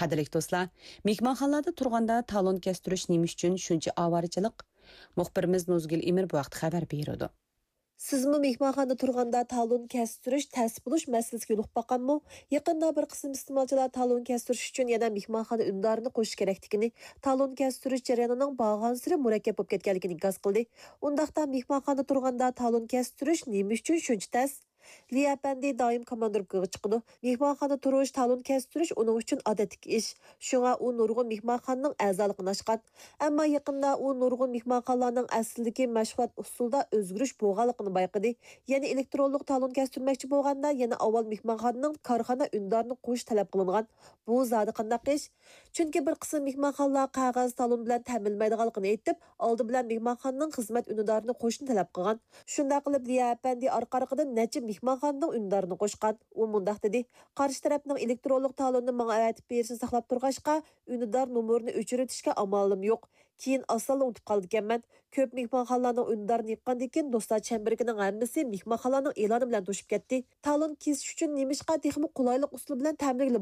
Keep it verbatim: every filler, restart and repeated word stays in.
قەدىرلىك دوستلار، مېھمانخانىلاردا تۇرغاندا تالون كەستۈرۈش نېمە ئۈچۈن شۇنچە ئاۋارىچىلىق؟ مۇخبىرىمىز نۇزگۈل ئىمىر بۇ ھەقتە خەۋەر بېرىدۇ. سىزمۇ مېھمانخانىدا تۇرغاندا تالون كەستۈرۈش تەس بولۇش مەسىلىسىگە يولۇقۇپ باققانمۇ؟ يېقىندا بىر قىسىم ئىستېمالچىلار تالون كەستۈرۈش ئۈچۈن يەنە مېھمانخانا ئۈندىدارىنى قوشۇش كېرەكلىكىنى، تالون كەستۈرۈش جەريانىنىڭ بارغانسېرى مۇرەككەپ بولۇپ كەتكەنلىكىنى ئىنكاس قىلدى. ئۇنداقتا مېھمانخانىدا تۇرغاندا تالون كەستۈرۈش نېمە ئۈچۈن شۇنچە تەس؟ لى ئەپەندى دائىم كوماندىروپكىغا چىقىدۇ. مېھمانخانىدا تۇرۇش، تالون كەستۈرۈش ئۇنىڭ ئۈچۈن ئادەتتىكى ئىش. شۇڭا ئۇ نۇرغۇن مېھمانخانىنىڭ ئەزالىقىنى ئاچقان. ئەمما يېقىندا ئۇ نۇرغۇن مېھمانخانىلارنىڭ ئەسلىدىكى مەشغۇلات ئۇسۇلىدا ئۆزگىرىش بولغانلىقىنى بايقىدى. يەنى ئېلېكترونلۇق تالون كەستۈرمەكچى بولغاندا، يەنە ئاۋۋال مېھمانخانىنىڭ كارخانا ئۈندىدارىنى قوشۇش تەلەپ قىلىنغان. بۇ زادى قانداق ئىش؟ چۈنكى بىر قىسىم مېھمانخانىلار قەغەز تالون بىلەن تەمىنلىمەيدىغانلىقىنى ئېيتىپ، ئالدى بىلەن مېھمانخانىنىڭ خىزمەت ئۈندىدارىنى قوشۇشنى تەلەپ قىلغان. شۇنداق قىلىپ، ليا ئەپەندى ئارقا-ئارقىدىن نەچچە مېھمانخانىنىڭ ئۈندىدارىنى قوشقان. ئۇ مۇنداق دېدى، قارشى تەرەپنىڭ ئېلېكترونلۇق تالوننى ماڭا ئەۋەتىپ بېرىشنى ساقلاپ تۇرغاچقا، ئۈندىدار نومۇرىنى ئۆچۈرۈۋېتىشكە ئامالىم يوق. كېيىن ئاسانلا ئۇنتۇپ قالىدىكەنمەن. كۆپ مېھمانخانىلارنىڭ ئۈندىدارىنى يىغقاندىن كېيىن، دوستلار چەمبىرىكىنىڭ ھەممىسى مېھمانخانىلارنىڭ ئېلانى بىلەن توشۇپ كەتتى. تالون كېسىش ئۈچۈن نېمىشقا تېخىمۇ قولايلىق ئۇسۇل بىلەن تەمىنلىگىلى